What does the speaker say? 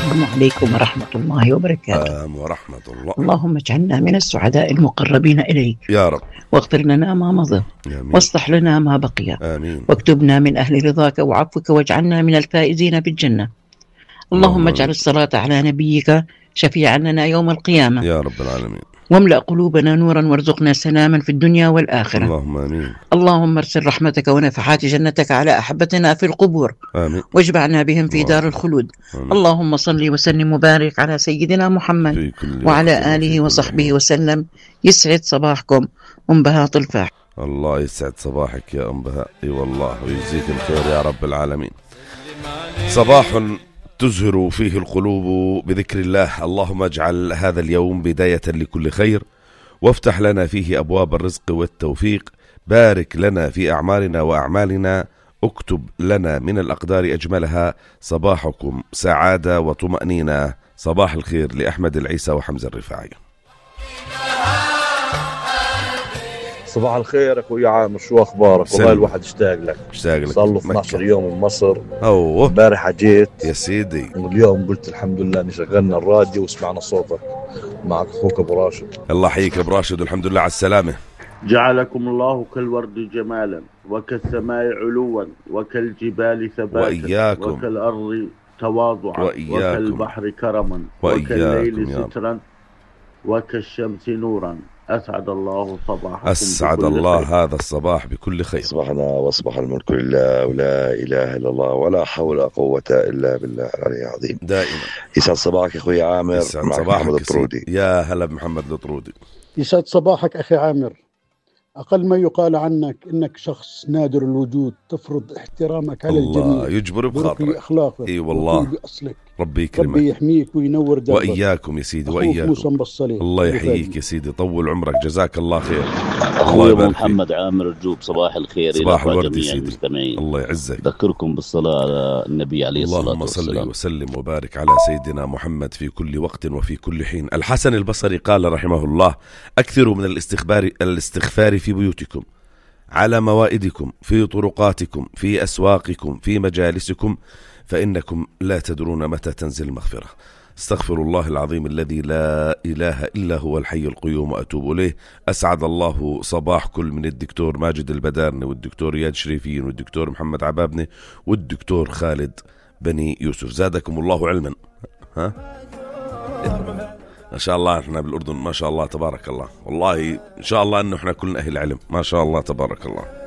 السلام عليكم ورحمة الله وبركاته. ورحمة الله. اللهم اجعلنا من السعداء المقربين إليك يا رب. واغفر لنا ما مضى واصلح لنا ما بقي. آمين. واكتبنا من أهل رضاك وعفوك واجعلنا من الفائزين بالجنة. اللهم اجعل الصلاة على نبيك شفيعا لنا يوم القيامة يا رب العالمين. واملأ قلوبنا نورا وارزقنا سلاما في الدنيا والآخرة. اللهم آمين. اللهم ارسل رحمتك ونفحات جنتك على أحبتنا في القبور. آمين. واجمعنا بهم في دار الخلود. آمين. اللهم صل وسلم وبارك على سيدنا محمد وعلى آله وصحبه وسلم. يسعد صباحكم أم بهاء طلفاح. الله يسعد صباحك يا أم بهاء. اي والله ويجزيك الخير يا رب العالمين. صباح تزهر فيه القلوب بذكر الله. اللهم اجعل هذا اليوم بداية لكل خير وافتح لنا فيه أبواب الرزق والتوفيق. بارك لنا في أعمالنا وأعمالنا. اكتب لنا من الأقدار أجملها. صباحكم سعادة وطمأنينة. صباح الخير لأحمد العيسى وحمزة الرفاعي. صباح الخير أخوي عامر، شو أخبارك؟ والله الواحد اشتاق لك. صار له 12 يوم من مصر. امبارح جيت يا سيدي، واليوم قلت الحمد لله إن شغلنا الراديو وسمعنا صوتك. معك أخوك أبو راشد. الله يحييك أبو راشد والحمد لله على السلامة. جعلكم الله كالورد جمالا وكالسماء علوا وكالجبال ثباتا وإياكم وكالأرض تواضعا وإياكم وكالبحر كرما وكالليل سترا وكالشمس نورا. أسعد الله صباحكم. أسعد الله هذا الصباح بكل خير. صباحنا وصباح الملك لله ولا إله إلا الله ولا حول ولا قوة إلا بالله العلي العظيم. دائما يسعد صباحك أخوي عامر. يسعد صباحك محمد الطرودي. يا هلا بمحمد الطرودي. يسعد صباحك أخي عامر. أقل ما يقال عنك إنك شخص نادر الوجود، تفرض احترامك على الجميع. الله يجبر بخاطرك. أخلاقك. اي والله. بأصلك. ربي يكرمك. ربي يحميك وينور دربك. وإياكم يا سيدي وإياكم. الله يحييك يا سيدي، طول عمرك، جزاك الله خير. الله يبارك محمد عامر الجوب. صباح الخير. صباح الورد يا سيدي. الله يعزك. ذكركم بالصلاة على النبي عليه الصلاة والسلام. اللهم صل وسلم وبارك على سيدنا محمد في كل وقت وفي كل حين. الحسن البصري قال رحمه الله: أكثروا من الاستغفار في بيوتكم، على موائدكم، في طرقاتكم، في أسواقكم، في مجالسكم، فإنكم لا تدرون متى تنزل المغفرة. استغفر الله العظيم الذي لا إله إلا هو الحي القيوم وأتوب إليه. أسعد الله صباح كل من الدكتور ماجد البدارني والدكتور رياض شريفين والدكتور محمد عبابني والدكتور خالد بني يوسف. زادكم الله علما. ما شاء الله احنا بالأردن ما شاء الله تبارك الله، والله إن شاء الله أنه احنا كلنا أهل علم ما شاء الله تبارك الله.